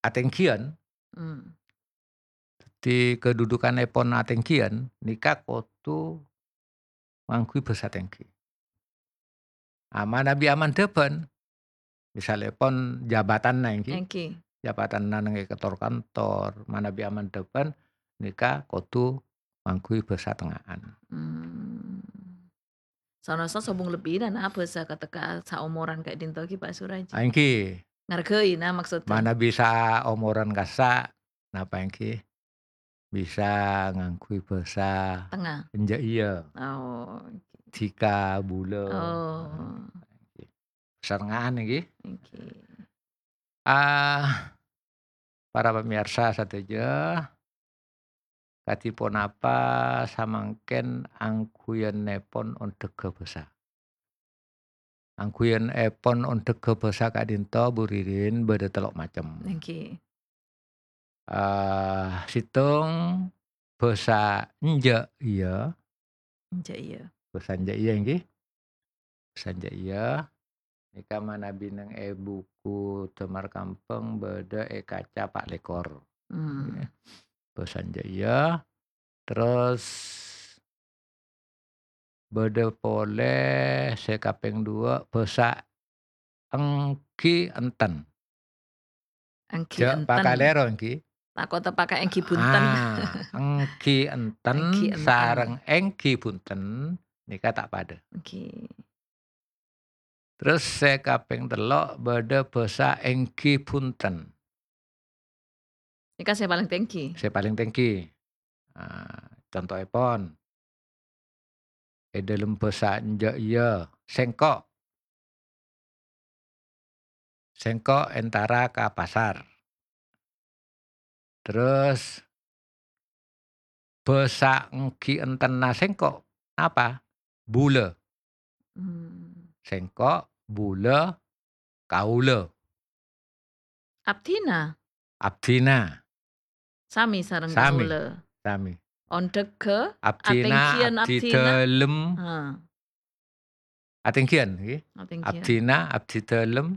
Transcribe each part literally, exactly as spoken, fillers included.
atènggiyân, Hmm. dhâddhi kadhudhukannèpon atènggiyân, nèka kodhu ngangghuy bhâsa tèngghi. Ah, manabi amandhâbhân, misalèpon jabatanna èngghi, Èngghi. jabatanna neng è kantor-kantor, manabi amandhâbhân nèka kodhu ngangghuy bhâsa tengnga'an. Hmm. Sanaossa sobung lebbina, na, bhâsa katèka saomoran ka'dinto ghi, Pak Suraj? Ah, èngghi. Ngargai, na, maksudnya. Manabi saomoran kassa', napa èngghi? Bisa ngangghuy bhâsa Tengnga. enjâ' iyâ. Oh, oke. Dhika, bulâ. Oh. Nah, èngghi. Bhâsa tengnga'an èngghi. Oke. Ah, para pamèyarsa sadhâjâ, kadhi ponapa samangkèn angghuyannèpon ondhâghâ bhâsa? Angghuyannèpon ondhâghâ bhâsa ka'dinto, Bu Ririn, bâdâ tello' macem. Èngghi. Ah, sèttong bhâsa enjâ' iyâ. Enjâ' iyâ. Bhâsa enjâ' iyâ, èngghi. Bhâsa enjâ' iyâ. Nèka manabi neng è buku Damar Kambhâng bâdâ è kaca pa' lèkor. Hmm. Bhâsa enjâ' iyâ. Terros bâdâ polè sè kapèng duwâ', bhâsa èngghi enten. Èngghi Jhâ' enten. pakalèro èngghi. Tako' tepaka èngghi bhunten. Ah, èngghi enten Èngghi enten. sareng èngghi bhunten nèka ta' padâ. Èngghi. Terros sè kapèng tello' bâdâ bhâsa èngghi bhunten. Nèka sè palèng tèngghi. Sè palèng tèngghi. Ah, contoèpon, è dâlem bhâsa enjâ' iyâ, sèngko'. Sèngko' entara ka pasar. Terros, bhâsa èngghi entenna sèngko' napa? Bulâ. Hmm. Sèngko', bulâ, kaulâ. Abdhina? Abdhina. Sami sareng Sami. kaulâ. Sami. Ondhâghâ, Abdhina, atènggiyân abdhi abdhina. dâlem. Ha. Atènggiyân, ngghi. Atènggiyân. Abdhina, abdhi dâlem,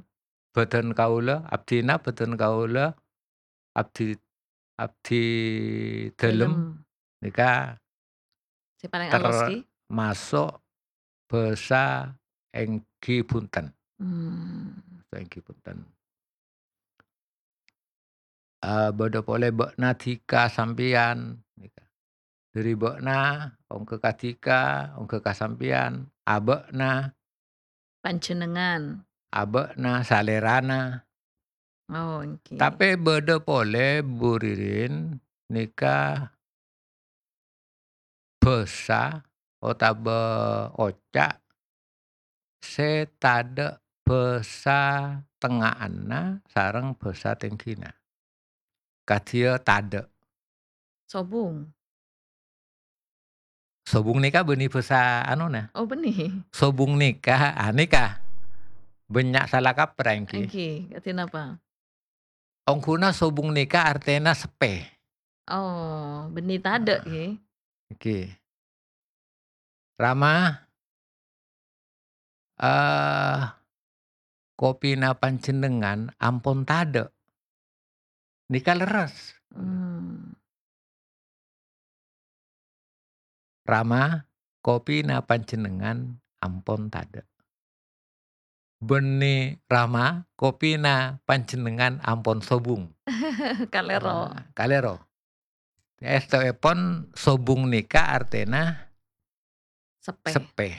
bâdân kaulâ, abdhina, bâdân kaulâ, abdhi, abdhi dâlem. Dâlem. Nèka Sè palèng alus, ghi? termasuk bhâsa èngghi bhunten. Hmm. Bhâsa èngghi bhunten. Eh, bâdâ polè bâ'na dhika sampèyan. Dhâri bâ'na, ongghâ ka dhika, ongghâ ka sampèyan, abâ'na. Panjhennengngan. Abâ'na, salèrana. Oh, èngghi. Tapè bâdâ polè, Bu Ririn, nèka bhâsa otabâ oca' sè tadâ' bhâsa tengnga'anna sareng bhâsa tèngghina. Kadhiyâ tadâ'. Sobung. Sobung nèka bânnè bhâsa anona. Oh, bânnè. Sobung nèka, ah, nèka. Bânnya' sala kaprah, èngghi. Èngghi, kadhi napa? Ongghuna sobung nèka artèna seppè. Oh, bânnè tadâ', ghi. Èngghi. Rama, eh, kopina panjhennengngan ampon tadâ'. Nèka lerres. Hmm. Rama, kopina panjhennengngan ampon tadâ'. Bânnè, Rama, kopina panjhennengngan ampon sobung. Kalèro. Ah, kalèro. Èstoèpon sobung nèka artèna Seppè. seppè.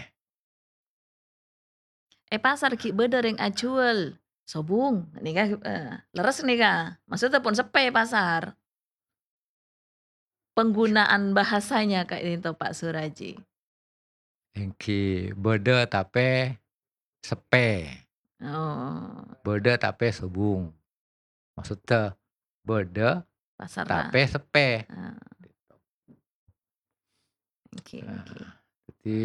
È pasar ghi' bâdâ rèng ajhuwâl sobung. Nèka, eh, lerres nèka. Maksudnya pon seppè pasar. Penggunaan bahasanya ka'dinto, Pak Suraji. Èngghi bâdâ tapè seppè. Oh. Bâdâ tapè sobung. Maksudnya bâdâ Pasar, tapè seppè. Ah. Oke, Nah, oke. jadi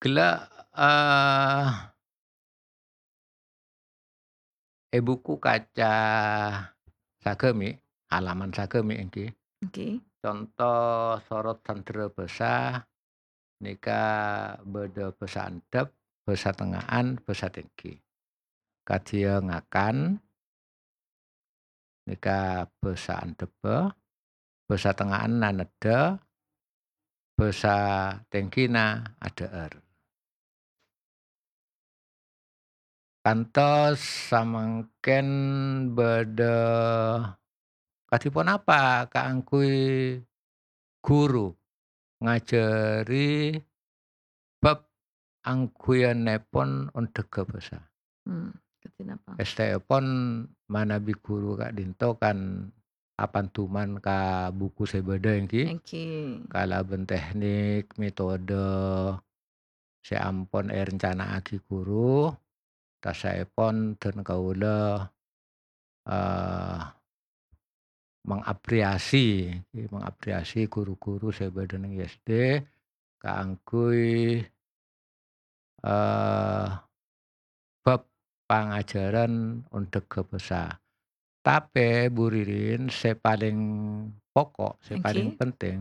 ghellâ', eh, è buku kaca sagâmè', halaman sagâmè' èngghi. Oke. Conto sorot sandhârâ bhâsa nèka bâdâ bhâsa andhâp, bhâsa tengnga'an, bhâsa tèngghi. Kadhiyâ ngakan, nèka bhâsa andhebbhâ, bhâsa tengnga'anna neddhâ, bhâsa tèngghina adhâ'âr. Kantos samangkèn bâdâ kadhi ponapa kaangghuy ghuru ngajhâri bab angghuyanèpon ondhâghâ bhâsa. Hmm, kadhi napa? Èstèèpon manabi ghuru ka'dinto kan apanduman ka buku sè bâdâ èngghi. Èngghi. Kalabân teknik, metode sè ampon èrencana'aghi ghuru, tasaèpon dân kaulâ, eh, mengapresiasi, mengapresiasi ghuru-ghuru sè bâdâ neng I S D kaangghuy, eh, bab pangajhârân ondhâghâ bhâsa. Tapè, Bu Ririn, sè palèng poko', sè palèng Èngghi. penting,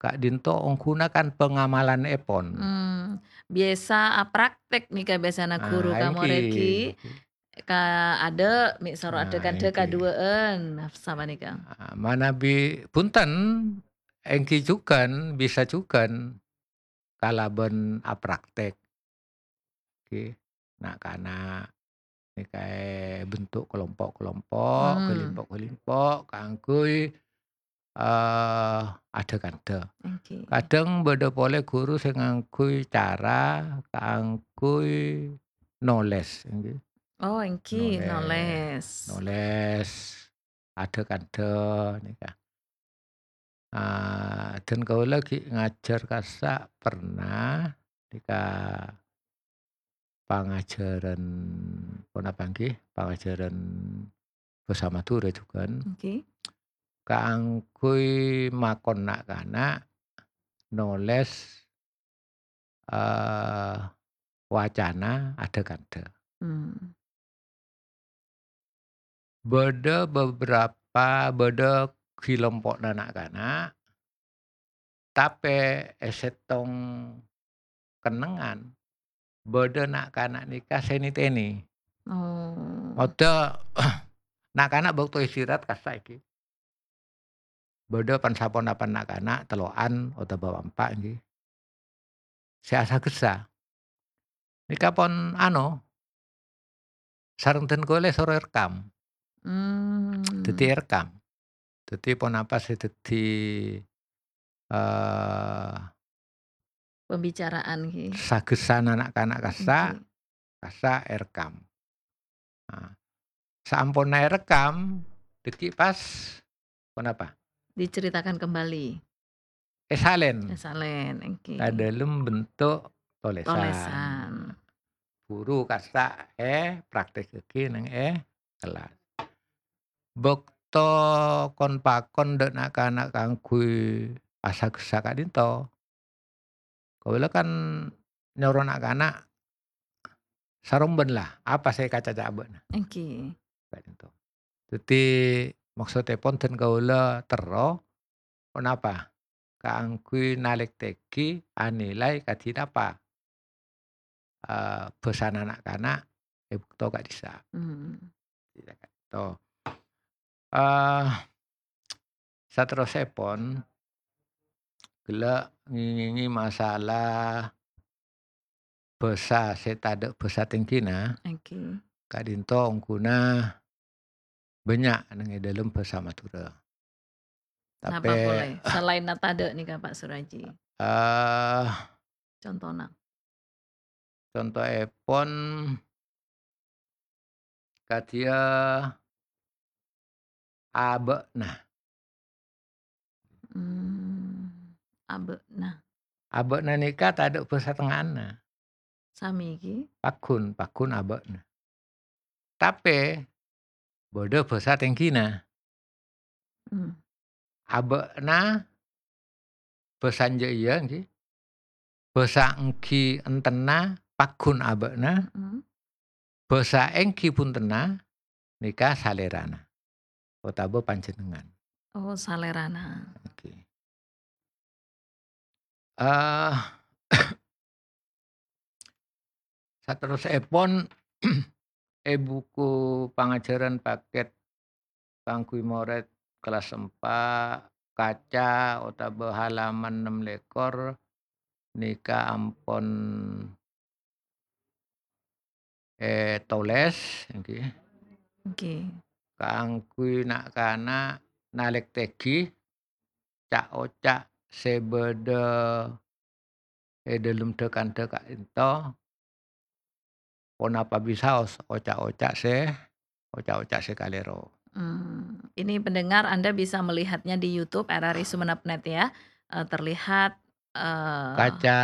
ka'dinto ongghuna kan pengamalanèpon. Hmm, biyasa apraktek nèka biyasana ghuru Ah, ka morèd èngghi. ghi. Ka adâ', mè' soro Nah, adâ' kandhâ èngghi. kaduwâ'ân, sapanèka. Ah, manabi bhunten, èngghi jhughân, bisa jhughân kalabân apraktek. Èngghi, na'-kana' nèka èbentuk kelompok-kelompok, Hmm. kelompok-kelompok kaangghuy, eh, adâ' kandhâ. Èngghi. Kadhâng bâdâ polè ghuru sè ngangghuy cara kaangghuy nolès, èngghi. Oh, èngghi, Nolès. nolès. Nolès adâ' kandhâ nèka. Ah, dân kaulâ ghi' ngajhâr kassa' pernah nèka pangajhârân, ponapa èngghi? Pangajhârân bhâsa Madhurâ jhughân. Èngghi. Kaangghuy makon na'-kana' nolès, eh, wacana adâ' kandhâ. Hmm. Bâdâ beberapa, bâdâ kelompo'na na'-kana', tapè è sèttong kennengngan, bâdâ na'-kana' nèka sè nètènè. Oh. Maksudda, na'-kana' bâkto istirahat kassa' èngghi. Bâdâ pan-saponapan na'-kana' tello'an otabâ pa'-empa' èngghi. Sè asagessa. Nèka pon ano, sareng dân kaulâ soro èrekam. Hmm. Dhâddhi èrekam. Dhâddhi ponapa sè dhâddhi, eh, Pembicaraan, ghi. Sagessana na'-kana' kassa', Èngghi. kassa' èrekam. Nah, saamponna èrekam, dhâggi' pas ponapa? Diceritakan kembali. Èsalèn. Èsalèn, èngghi. Ka dâlem bentuk tolèsan. Tolèsan. Buru kassa' èpraktekkaghi neng è kellas. Bâkto kon-pakon dâ' na'-kana' kaangghuy asagessa ka'dinto, kaulâ kan nyoro na'-kana' sarombân la, apa sè èkacaca abâ'na. Èngghi. Ka'dinto. Dhâddhi, maksoddhèpon dân kaulâ terro, ponapa? Kaangghuy nalèktèghi anilai kadhi napa, eh, bhâsana na'-kana' è bâkto ka'dissa'. Hmm. Ka'dinto. Eh, saterrossèpon, ghellâ' ngèngèngè masalah bhâsa sè tadâ' bhâsa tèngghina, Èngghi. ka'dinto ongghuna bânnya' neng è dâlem bhâsa Madhurâ. Napa Tapè, polè? Salaènna tadâ' nèka, Pak Suraji. eh, Contona. Contoèpon, kadhiyâ abâ'na. Hmm, abâ'na. Abâ'na nèka tadâ' bhâsa tengnga'anna. Sami ghi? Pagghun, pagghun abâ'na. Tapè, bâdâ bhâsa tèngghina. Hmm. Abâ'na bhâsa enjâ' iyâ, èngghi. Bhâsa èngghi èntenna pagghun abâ'na. Hmm. Bhâsa èngghi bhuntenna nèka salèrana otabâ panjhennengngan. Oh, salèrana. Èngghi. Eh, saterrossèpon, è buku pangajhârân pakèt kaangghuy morèd kellas empa', kaca otabâ halaman nem lèkor nèka ampon ètolès, èngghi. Èngghi. Kaangghuy na'-kana' nalèktèghi ca'-oca' sè bâdâ è dâlem dhâ-kandhâ ka'dinto, ponapa bisaos oca'-oca' sè, oca'-oca' sè kalèro. Hmm, ini pendengar Anda bisa melihatnya di YouTube R R I Sumenep net ya. Eh, terlihat, eh, Kaca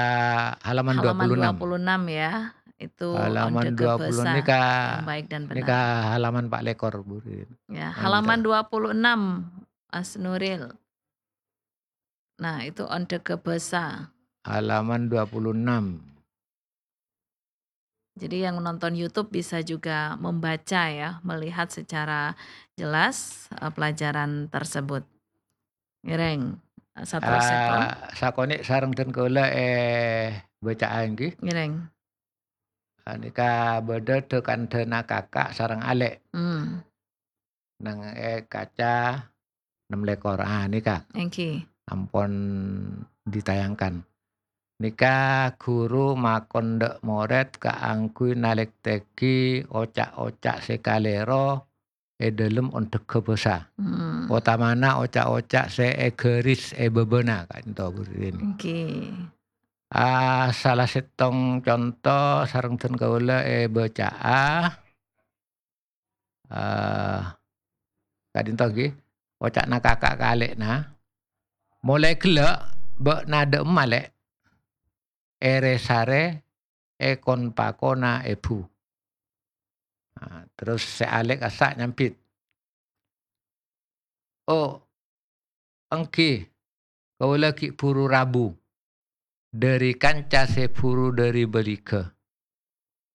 halaman halaman dua puluh enam. Dua puluh enam ya. Itu Halaman onde dua puluh kebasa nèka, yang baik dan nèka benar. Halaman pa' lèkor, Bu Rin. Ya, Halaman halaman dua puluh enam, Mas Nuril. Nah, itu onde kebasa. Halaman dua puluh enam. Jadi yang nonton YouTube bisa juga membaca ya, melihat secara jelas, eh, pelajaran tersebut. Ngèrèng, eh, saterrossa, Kong. Ah, sakonè' sareng dân kaulâ è bâcaa èngghi. Ngèrèng. Ah, nèka bâdâ dhâ-kandhâna kaka' sareng alè'. Hmm. Neng è kaca nem lèkor. Ah, nèka. Èngghi. Ampon ditayangkan. Nèka ghuru makon dâ' morèd kaangghuy nalèktèghi oca'-oca' sè kalèro è dâlem ondhâghâ bhâsa. Hmm. Otamana oca'-oca' sè èghâris è bâbâna ka'dinto, Bu Rin. Èngghi. Ah, sala sèttong conto sareng dân kaulâ è bâcaa. Ah, ka'dinto èngghi, oca'na kaka' ka alè'na, "Molaè ghellâ' bâ'na dâ'emma, Lè'?" "Èrè-sarè èkon-pakona èbhu." Ah, terros sè alè' kassa' nyambit, "Oh, èngghi, kaulâ ghi' bhuru rabu dâri kanca sè bhuru dâri bâligâ.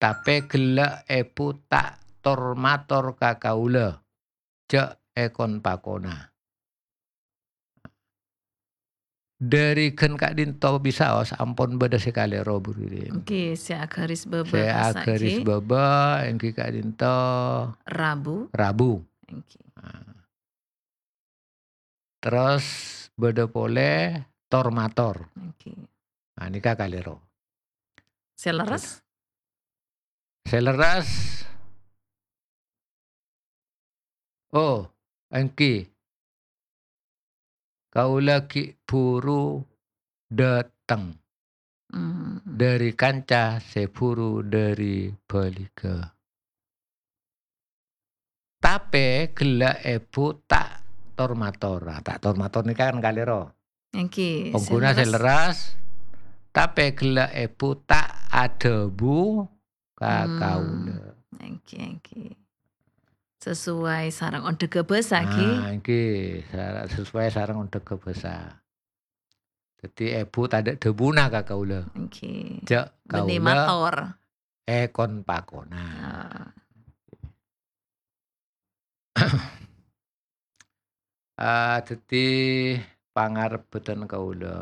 Tapè ghellâ' èbhu ta' tor-mator ka kaulâ, jhâ' èkon-pakona." Dâri ghân ka'dinto bisaos ampon bâdâ sè kalèro, Bu Ririn. Èngghi, sè aghâris bâbâ Sè kassa' aghâris ghi. bâbâ èngghi ka'dinto Rabu. Rabu. Èngghi. Nah. Terros bâdâ polè tor-mator. Èngghi. Nah, nèka kalèro. Sè lerres? Sè lerres. Oh, èngghi. Kaulâ ghi' bhuru dâteng Hmm. dâri kanca sè bhuru dâri bâligâ. Tapè ghellâ' èbhu ta' tor-mator. Nah, ta' tor-mator nèka kan kalèro. Èngghi, sè Ongghuna sè lerres. lerres, tapè ghellâ' èbhu ta' adhâbu ka Hmm, kaulâ. Èngghi, èngghi. Sesuai sareng ondhâghâ bhâsa, ghi. Ah, èngghi, sara-, sesuai sareng ondhâghâ bhâsa. Dhâddhi èbhu tadâ' dhâbuna ka kaulâ. Èngghi. Jhâ' Bânnè kaulâ mator. èkon-pakona. Ah. Ah, dhâddhi pangarep bhâdhân kaulâ,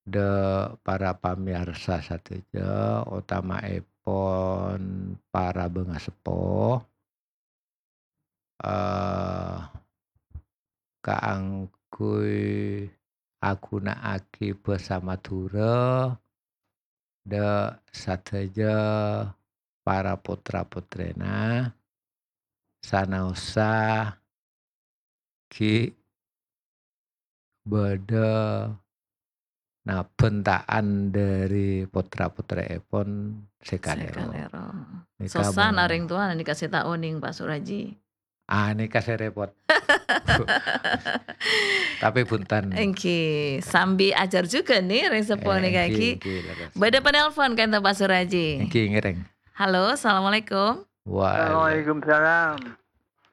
dâ' para pamèyarsa sadhâjâ, otama'èpon para bângaseppo, eh, kaangghuy aghuna'aghi bhâsa Madhurâ dâ' sadhâjâ para potra-potrèna, sanaossa ghi' bâdâ nabhânta'an dâri potra-potrèèpon sè Sè kalèro. kalèro. Nèka Sossa mon- narèng towa nèka sè ta' onèng, Pak Suraji. Ah, nèka sè rèpot. Tapè bhunten. Èngghi, sambi ajhâr jhughân nè, rèng seppo Eh, nèka èngghi, ghi. èngghi, leres. Bâdâ penelpon ka'dinto Pak Suraji. Èngghi, ngèrèng. Halo, assalamualaikum. Waalaikumsalam. Waalaikumsalam.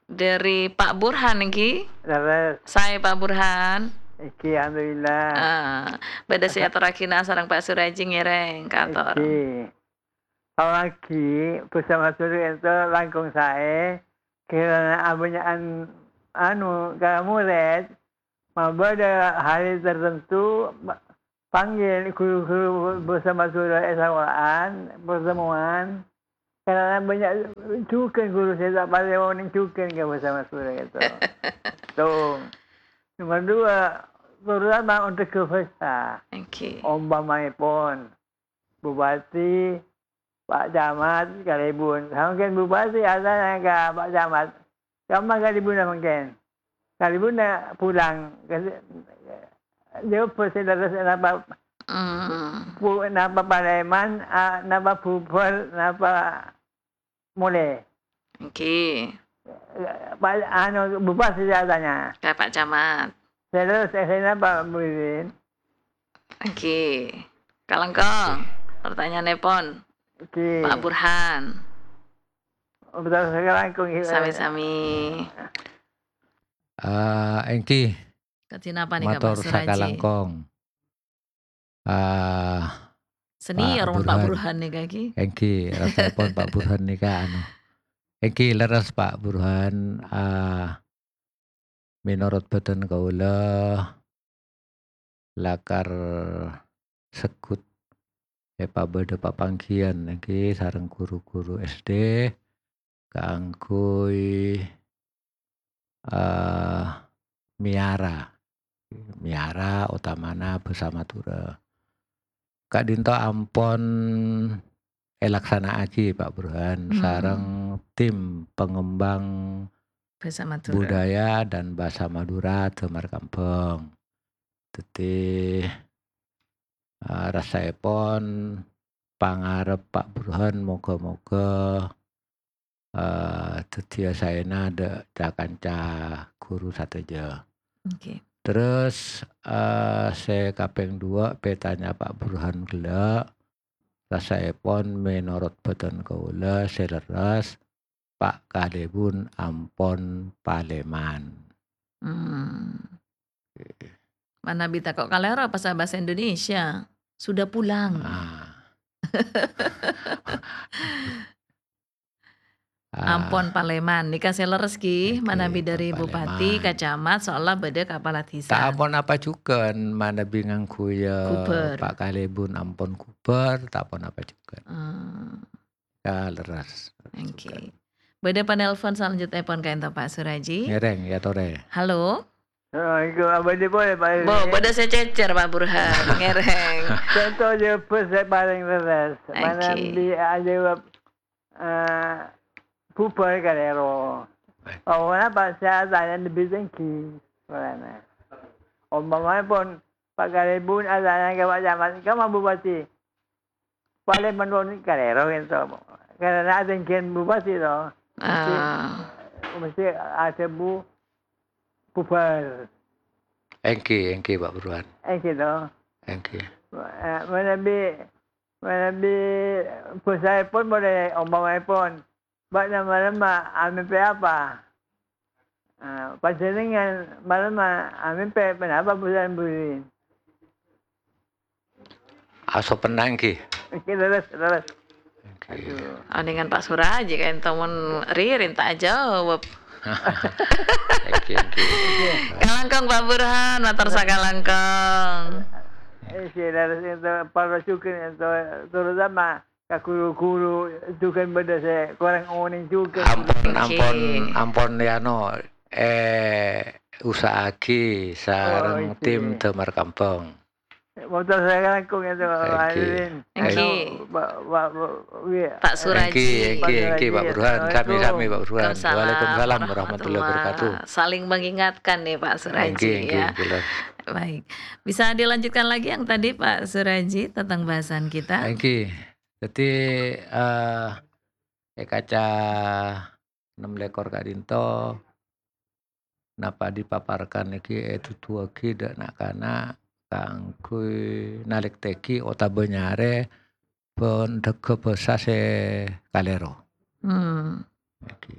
Dâri Pak Burhan, èngghi? Leres. Saè, Pak Burhan? Èngghi, alhamdulillah. Ah, bâdâ sè atorraghina sareng Pak Suraji ngèrèng, kator. Èngghi. Apalagi bhâsa Madhurâ ènto langkong saè, kèrana abânnya'an, anu, ka morèd, mabâdâ hari tertentu, ma-, panggil guru-guru bhâsa Madhurâ è sakola'an, pertemuan, Karena banyak jhughân ghuru sè ta' parèng onèng jhughân ka bhâsa Madhurâ gitu. Tuh. Nomor dua, terutama untuk ke bhâsa. Oke. Ompamaèpon, Bupati, Pak Camat, kalèbun. Samangkèn Bupati atanya ka Pak Camat, "Kamma kalèbunna samangkèn?" Kalèbunna pulang. Jawab sè lerres napa Hmm. pu-, napa palèman, a, napa bubâr, napa molè. Èngghi. Pak, anu, Bupati sè atanya. Ka Pak Camat. Terros, eh, napa, Bu Irin? Èngghi. Kalangkong. Pertanyaanèpon. Èngghi. Pak Burhan. Betul, kalangkong, iya. Sami-sami. Ah, èngghi. Kadhi napa nèka, Pak Suraji? Mator sakalangkong. Ah, senior Pak Burhan. Pak Burhan nèka, ghi. Èngghi, rasaèpon Pak Burhan nèka, anu. Èngghi, lerres, Pak Burhan. Ah, mènorot bâdhân kaulâ, lakar segghut èpabâdâ papangghiyân èngghi sareng ru-ghuru S D kaangghuy, eh, mèyara, mèyara otamana bhâsa Madhurâ. Ka'dinto ampon èlaksana'aghi, Pak Burhan, Hmm. sareng tim pengembang Bhâsa Madhurâ. Budaya dan Bhâsa Madhurâ Dâmar Kambâng. Dhâddhi, eh, rasaèpon pangarep Pak Burhan moghâ-moghâ, eh, dhâddhiyâ saèna dâ' ca-kanca ghuru sadhâjâ. Oke. Terros, eh, sè kapèng duwâ' pètanya Pak Burhan ghellâ', rasaèpon mènorot bâdhân kaulâ sè lerres, Pak Kalèbun ampon palèman. Hmm. Oke. Manabi tako' kalèro pas bhâsa Indonesia, sudah pulang. Ah. Ah. Ampon palèman. Nèka sè lerres, ghi, èngghi, manabi ampon dâri bupati, palèman. Ka camat, soalnya bâdâ kapala dhisa. Ta' ampon apa jhughân, manabi ngangghuy, eh, ghubâr. Pak Kalèbun ampon ghubâr, ta' ampon apa jhughân. Hmm. Ka lerres. Èngghi. Bâdâ panelpon salanjutèpon ka'dinto, Pak Suraji. Ngèrèng, ya, torè. Halo. Oh, iku abâdhi polè, Pak. Bo, bâdâ sè cècèr, Pak Burhan. Ngèrèng. Conto jawab sè palèng lerres. Èngghi. Manabi ajâwâb, eh, bubâr kalèro. Baik. Oh, napa sè atanya lebbi tèngghi polana. Ompamaèpon, Pak Kalèbun atanya ka Pak Camat, "Kamma Bupati?" Palèman kalèro ka'dinto. Karena atèngghi bupati to. Mesti, ah, mesti adhâbu bubâr. Èngghi, èngghi, Pak Burhan. Èngghi to. Èngghi. Eh, manabi, manabi bhâsaèpon polè ompamaèpon, "Bâ'na malemma amèmpè apa?" Ah, "Panjhennengngan malemma amèmpè ponapa, Bu Sambuddin?" Aso pennang, ghi. Oke, lerres, lerres. Oke. Aduh. Aningan Pak Suraji ka'dinto mon ririn ta' ajâwâb. Oke, oke. Kalangkong, Pak Burhan, mator sakalangkong. Eh, sè lerres ka'dinto, para jhughân ka'dinto, terutama ka ghuru-ghuru jhughân bâdâ sè korang onèng jhughân. Ampon, oke, ampon, ampon, ya, no, eh, usaha'aghi sareng, oh, oke, tim Dâmar Kambâng. Mator sakalangkong ka'dinto, oke, Pak Irin. Oke. Anu, Pak, Pak, Pak, iya. Pak Suraji. Oke, oke, oke, Pak Burhan. Assalamualaikum. Sami-sami, Pak Burhan. Waalaikumsalam warahmatullahi wabarakatuh. Saling mengingatkan nih, Pak Suraji, oke, oke, ya. Jelas. Baik. Bisa dilanjutkan lagi yang tadi, Pak Suraji, tentang bahasan kita? Oke. Dhâddhi, eh, è kaca ennem lèkor ka'dinto, napa dipaparkan nèkè èduduwâghi dâ' na'-kana' kaangghuy nalèktèghi otabâ nyarè bân dhâgghâ bhâsa sè kalèro. Hmm. Nèkè.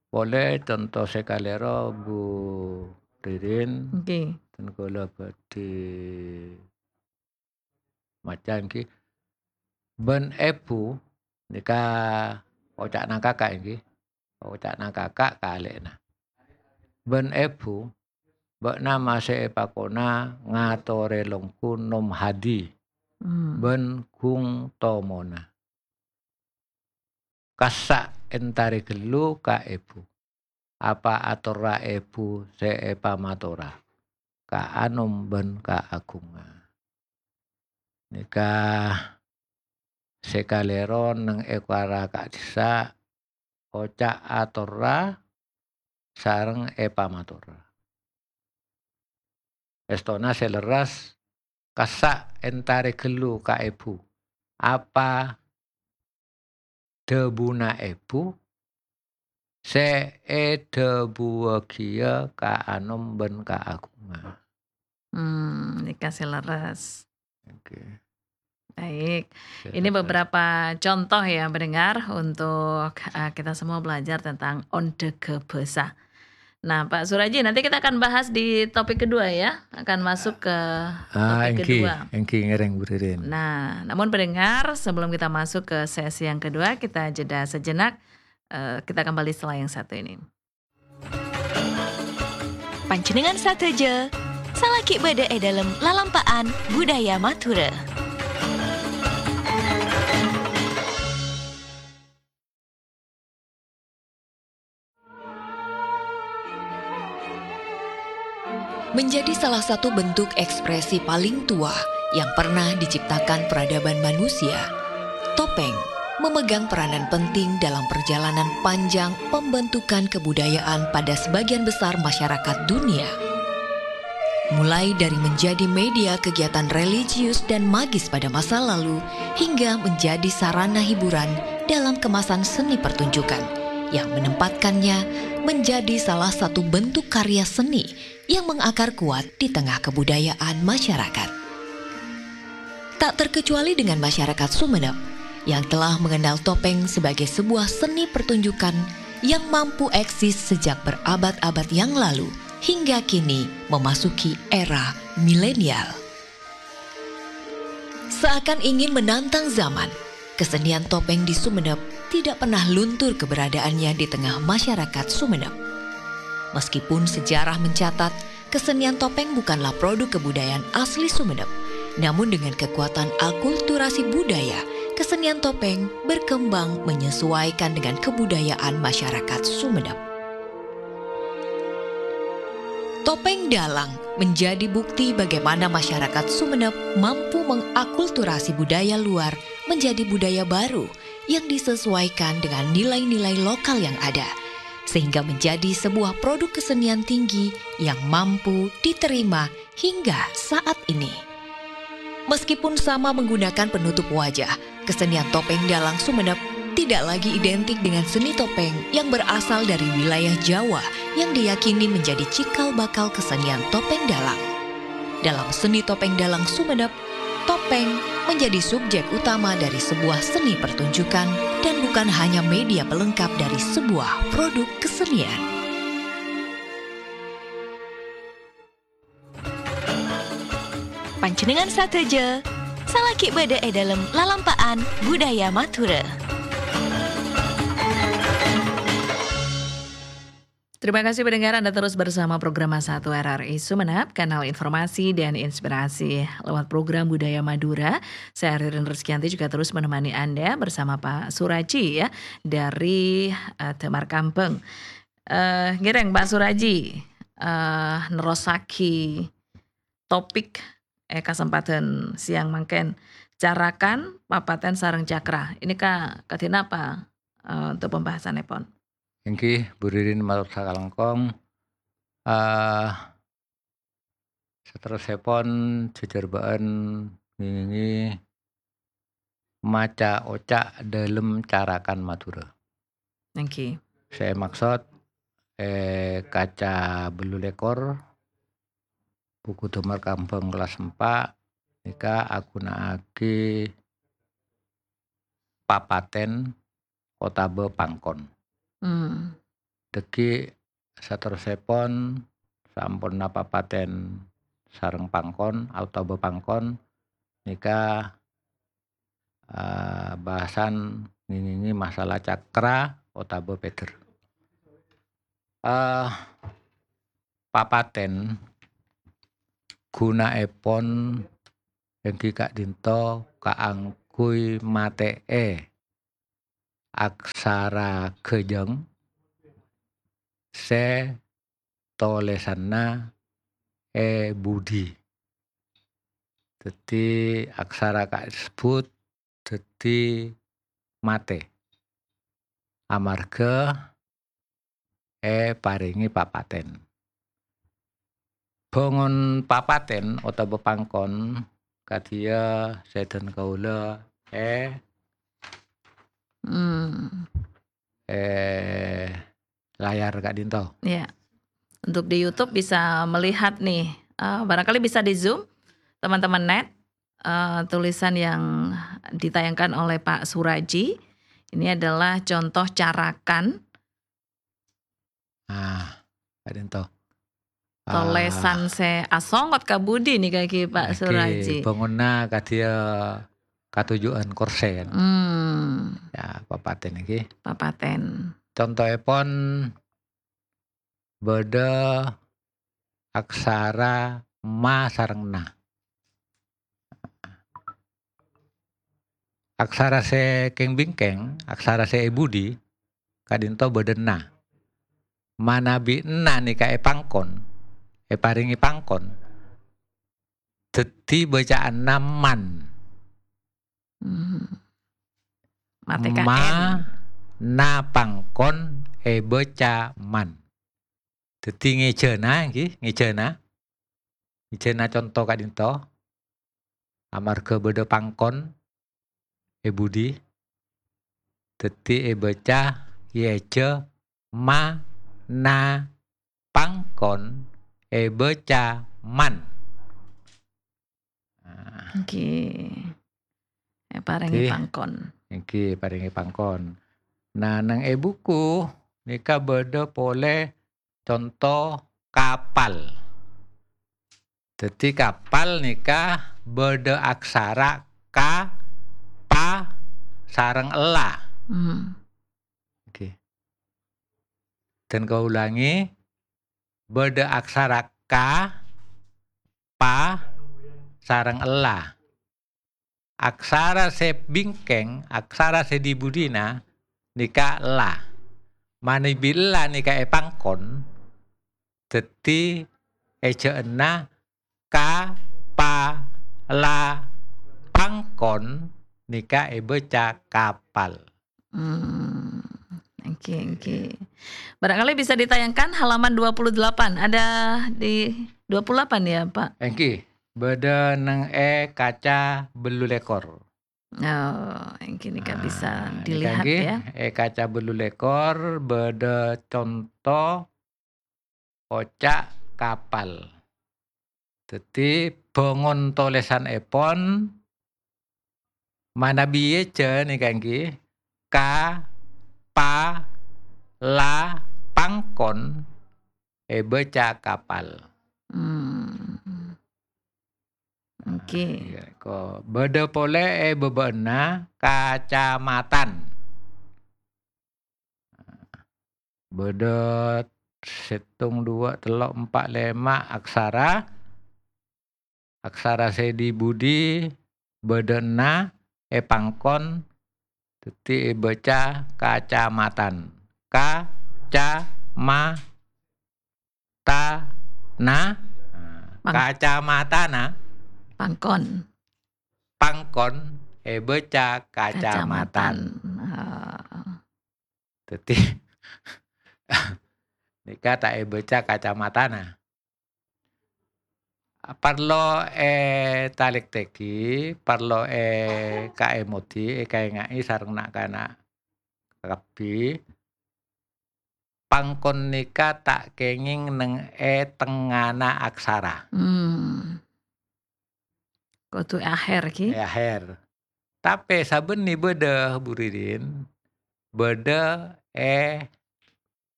Polè conto sè kalèro, Bu Ririn, oke, dân kaulâ bhâdhi maca èngghi. Bân èbhu, nèka oca'na kaka' èngghi. Oca'na kaka' ka alè'na. Bân èbhu, bâ'na masè èpakona ngatorè longghu Nom Hadi, hmm, bân ghung tomona. Kassa' èntarè ghâllu ka èbhu. Apa atorra èbhu sè èpamatora ka anom bân kaaghungnga. Nèka sè kalèro neng è para ka'dhissa', oca' atorra sareng èpamatora. Èstona sè lerres, kassa' èntarè ghâllu ka èbhu. Apa dhâbuna èbhu sè èdhâbuwâghiyâ ka anom bân kaaghungnga. Hmm, nèka sè lerres. Oke. Baik. Sè Ini lerres. beberapa contoh ya, pendengar, untuk, eh, kita semua belajar tentang ondaghâ bhâsa. Nah, Pak Suraji, nanti kita akan bahas di topik kedua ya, akan masuk ke Ah, topik èngghi, kedua. èngghi ngèrèng, Bu Ririn. Nah, namun pendengar, sebelum kita masuk ke sesi yang kedua, kita jeda sejenak. Eh, kita kembali setelah yang satu ini. Panjhennengngan sadhâjâ, salaghi bâdâ è dâlem lalampa'an budaya Madhurâ. Menjadi salah satu bentuk ekspresi paling tua yang pernah diciptakan peradaban manusia, topeng memegang peranan penting dalam perjalanan panjang pembentukan kebudayaan pada sebagian besar masyarakat dunia. Mulai dari menjadi media kegiatan religius dan magis pada masa lalu, hingga menjadi sarana hiburan dalam kemasan seni pertunjukan, yang menempatkannya menjadi salah satu bentuk karya seni yang mengakar kuat di tengah kebudayaan masyarakat. Tak terkecuali dengan masyarakat Sumenep, yang telah mengenal topeng sebagai sebuah seni pertunjukan yang mampu eksis sejak berabad-abad yang lalu hingga kini memasuki era milenial. Seakan ingin menantang zaman, kesenian topeng di Sumenep tidak pernah luntur keberadaannya di tengah masyarakat Sumenep. Meskipun sejarah mencatat kesenian topeng bukanlah produk kebudayaan asli Sumenep, namun dengan kekuatan akulturasi budaya, kesenian topeng berkembang menyesuaikan dengan kebudayaan masyarakat Sumenep. Topeng Dalang menjadi bukti bagaimana masyarakat Sumenep mampu mengakulturasi budaya luar menjadi budaya baru yang disesuaikan dengan nilai-nilai lokal yang ada, sehingga menjadi sebuah produk kesenian tinggi yang mampu diterima hingga saat ini. Meskipun sama menggunakan penutup wajah, kesenian topeng dalang Sumenep tidak lagi identik dengan seni topeng yang berasal dari wilayah Jawa yang diyakini menjadi cikal bakal kesenian topeng dalang. Dalam seni topeng dalang Sumenep, topeng menjadi subjek utama dari sebuah seni pertunjukan dan bukan hanya media pelengkap dari sebuah produk kesenian. Panjhennengngan sadhâjâ, salaghi bâdâ è dâlem lalampa'an budaya Madhurâ. Terima kasih pendengar, Anda terus bersama Program Satu R R I Sumenep, kanal informasi dan inspirasi lewat program Budaya Madura. Saya Ririn Rizkyanti juga terus menemani Anda bersama Pak Suraji ya, dari, eh, Damar Kambang. Eh, ngèrèng Pak Suraji, eh, nerrossaghi topik è kasempadhân sèyang mangkèn, carakan, papatèn, sareng cakra. Ini ka-, kadhi napa, eh, untuk pembahasanèpon? Èngghi, Bu Ririn mator sakalangkong. Eh, saterrossèpon jhâjhârbâ'ân ngèngèngè maca oca' dâlem carakan Madhurâ. Èngghi. Sè èmaksod, è kaca bâllu lèkor, buku Damar Kambang kellas empa', nèka aghuna'aghi papatèn otabâ pangkon. Hmm. Dhâggi' saterrossèpon, saamponna papatèn sareng pangkon otabâ pangkon, nèka, eh, bahasan ngèngèngè masalah cakra otabâ pèdher. Eh, papatèn ghuna'èpon èngghi ka'dinto kaangghuy matè'è aksara ghâjâng sè tolèsanna è budi. Dhâddhi, aksara kasebbhut dhâddhi matè. Amarghâ èparèngè papatèn. Bhângon papatèn otabâ pangkon kadhiyâ sè dân kaulâ è, Hmm. è layar ka'dinto. Ya. Untuk di YouTube bisa melihat nih, eh, barangkali bisa di-zoom, teman-teman net, eh, tulisan yang ditayangkan oleh Pak Suraji. Ini adalah contoh carakan. Ah, ka'dinto. Ah. Tolèsan sè asongot ka budi nèka ghi, Pak Suraji. Bhângonna kadhiyâ katuju'ân korsè, kan? Hmm. Ya, papatèn nèka. Papatèn. Contoèpon, bâdâ aksara ma sareng na. Aksara sè kèng-bingkèng, aksara sè è budi, ka'dinto bâdâ na. Manabi na nèka èpangkon, èparèngè pangkon, dhâddhi bâca'anna man. Hmm. Matè ka Ma, N. Na pangkon èbâca man. Dhâddhi ngèjâna, ngghi, ngèjâna. Ngèjâna conto ka'dinto. Amarghâ bâdâ pangkon è budi, dhâddhi èbâca, èèjâ ma, na, pangkon, èbâca man. Nah. Èngghi. Èparèngè Ngghi. Pangkon. Èngghi, èparèngè pangkon. Nah, neng è buku nèka bâdâ polè conto kapal. Dhâddhi, kapal nèka bâdâ aksara ka, pa, sareng ella. Hmm. Oke. Dan kaulangè, bâdâ aksara ka, pa, sareng ella. Aksara sè bingkèng, aksara sè è-budina nèka la. Manabi la nèka èpangkon, dhâddhi èjâ'ânna ka, pa, la, pangkon nèka èbâca kapal. Hmm, èngghi, èngghi. Barangkali bisa ditayangkan halaman dua puluh delapan. Ada di dua puluh delapan ya, Pak? Èngghi, bâdâ neng è kaca bâllu lèkor. Oh, èngghi nèka bisa dilihat ya. È kaca bâllu lèkor bâdâ conto oca' kapal. Dhâddhi, bhângon tolèsanèpon manabi èjâ nèka èngghi, ka, pa, la, pangkon, èbâca kapal. Hmm. Oke. Nah, iyâ, ko-, bâdâ polè è bâbâ'ânna kacamatan. Bâdâ sèttong, duwâ', tello', empa', lèma' aksara. Aksara sè è-budina bâdâna èpangkon, dhâddhi èbâca kacamatan. Ka, ca, ma, ta, na. Nah, pang-, kacamatana. Pangkon. Pangkon èbâca kacamatan. Kacamatan. Ah. Dhâddhi, nèka ta' èbâca kacamatana. Parlo ètalèktèghi, parlo èkaèmodhi, èkaènga'è sareng na'-kana' kabbhi. Pangkon nèka ta' kèngèng neng è tengnga'anna aksara. Hmm. Kodhu è aher, ghi? È aher. Tapè sabânnè bâdâ, Bu Ririn, bâdâ è,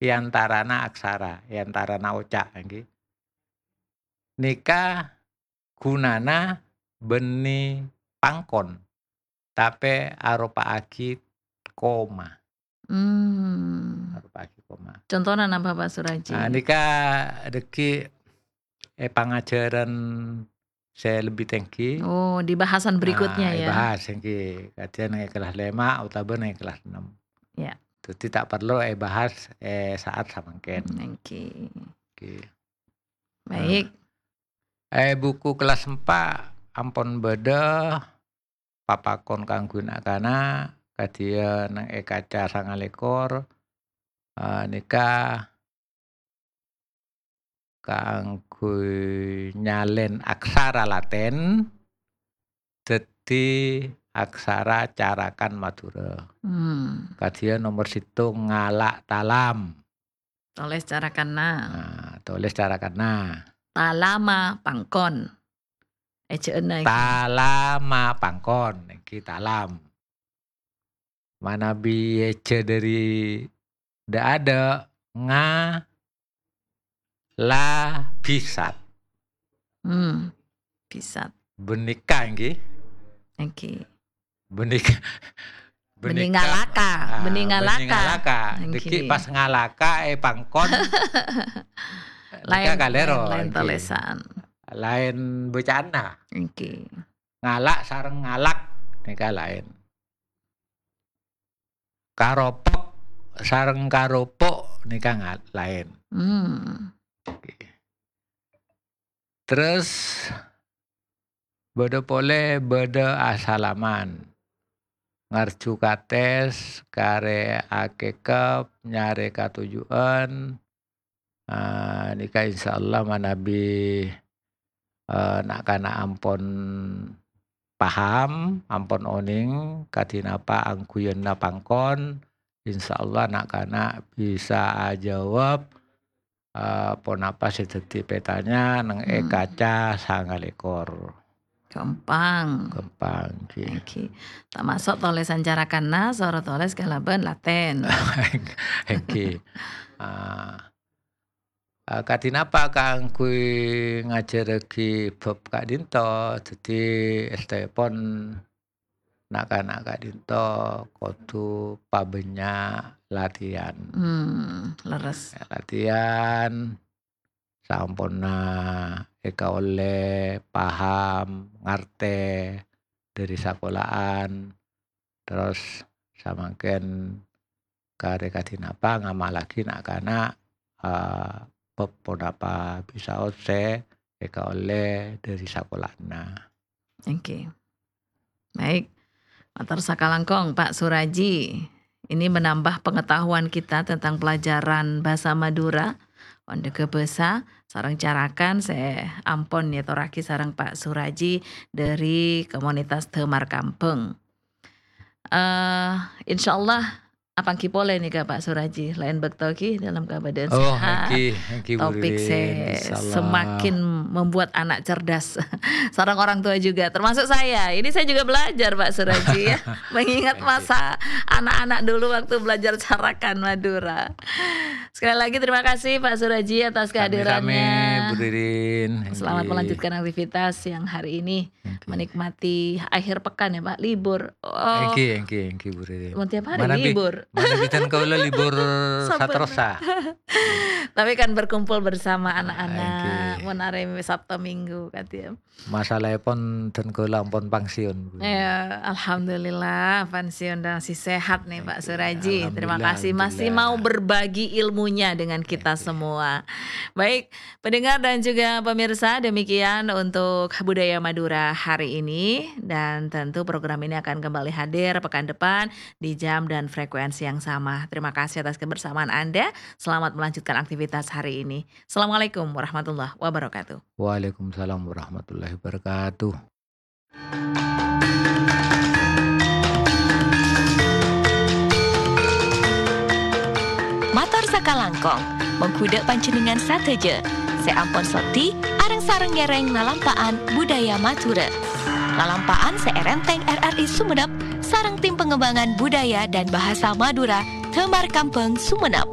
è antarana aksara, è antarana oca', ghi. Nèka ghunana bânnè pangkon, tapè aropa'aghi koma. Hmm. Aropa'aghi koma. Contona napa, Pak Suraji? Ah, nèka dhâggi' è pangajhârân sè lebbi tèngghi. Oh, di bahasan berikutnya, ah, ya. Èbahas èngghi. Kadhiyâ neng è kelas lèma' otabâ neng è kelas ennem. Ya. Dhâddhi ta' parlo èbahas è sa'at samangkèn. Hmm, èngghi. Èngghi. Baik. Nah, è buku kelas empat ampon bâdâ papakon kaangghuy na'-kana', kadhiyâ neng è kaca sanga lèkor, eh, nèka kaangghuy nyalèn aksara Latin dhâddhi aksara carakan Madhurâ. Hmm. Kadhiyâ nomer sèttong ngala' talam. Tolès carakanna. Nah, tolès carakanna. Talama pangkon. Èjhâ'âna èngghi. Talama pangkon, èngghi talam. Manabi èjhâ' dâri dâ'-adâ', nga-, la-, bisat. Hmm, bisat. Bhânika èngghi. Èngghi. Bhânika, bhânika, bhânika ngalaka, ah, bhânika bhânika ngalaka. Ngalaka. Èngghi. Dhâggi' pas ngalaka è pangkon. Laèn, nèka kalèro, laèn, laèn èngghi. Tolèsan. Laèn bâcaanna. Èngghi. Ngala' sareng ngalak nèka laèn. Karopok sareng karopo' nèka nga-, laèn. Hmm. Èngghi. Terros bâdâ polè bâdâ asalaman. Ngarju katès, karè akèkep, nyarè katuju'ân. Ah, nèka insyaallah manabi, eh, na'-kana' ampon paham, ampon onèng kadhi napa angghuyanna pangkon, insyaallah na'-kana' bisa ajâwâb, eh, ponapa sè dhâddhi pètanya neng è, hmm, kaca sanga lèkor. Ghâmpang. Ghâmpang, èngghi. Èngghi. Tamaso' tolèsan carakanna, soro tolès kalabân Latin. Èngghi. Ah, ah, kadhi napa kaangghuy ngajhârraghi bab ka'dinto, dhâddhi èstèpon na'-kana' ka'dinto kodhu pabânnya' latihan. Hmm, lerres. Ya, latihan samponna èkaollè paham, ngartè dâri sakola'an, terros samangkèn karè kadhi napa ngamallaghi na'-kana', eh, bab ponapa bisa ossè èkaollè dâri sakola'anna. Èngghi. Baik. Mator sakalangkong, Pak Suraji. Ini menambah pengetahuan kita tentang pelajaran bahasa Madura, Ondaga Basa, sareng carakan sè ampon èyatorraghi sareng Pak Suraji dâri komunitas Dâmar Kambâng. Eh, insyaallah apangghi polè nèka, Pak Suraji, laèn bâkto ghi dalam keadaan, oh, sehat. Èngghi, èngghi, Bu Ririn, insyaallah. Topik sè semakin membuat anak cerdas. Sareng orang tua juga, termasuk saya. Ini saya juga belajar, Pak Suraji, ya. Mengingat, èngghi, masa anak-anak dulu waktu belajar carakan Madura. Sekali lagi terima kasih, Pak Suraji, atas kehadirannya. Sami-sami, Bu Ririn. Selamat, èngghi, melanjutkan aktivitas siang hari ini. Èngghi. Menikmati akhir pekan ya, Pak, libur. Oh. Èngghi, èngghi, èngghi, Bu Ririn. Mau tiap hari libur. Manabi dhân kaulâ libur saterrossa. Tapi kan berkumpul bersama anak-anak, èngghi, mon arè Sabtu Minggu, kan, ya. Masalahèpon dhân kaulâ ampon pensiun, Bu. Ya, alhamdulillah, pensiun dan masih sehat nih, Pak Suraji. Èngghi, alhamdulillah, alhamdulillah. Terima kasih masih mau berbagi ilmunya dengan kita semua. Baik, pendengar dan juga pemirsa, demikian untuk Budaya Madura hari ini. Dan tentu program ini akan kembali hadir pekan depan di jam dan frekuensi yang sama. Terima kasih atas kebersamaan Anda. Selamat melanjutkan aktivitas hari ini. Assalamualaikum warahmatullahi wabarakatuh. Waalaikumsalam warahmatullahi wabarakatuh. Mator sakalangkong, mongghu dâ' panjhennengngan sadhâjâ sè ampon soddhi areng-sareng ngèrèng lalampa'an budaya Madhurâ. Lalampa'an sè èrèntèng R R I Sumenep sareng Tim Pengembangan Budaya dan Bahasa Madura Dâmar Kambâng Sumenep.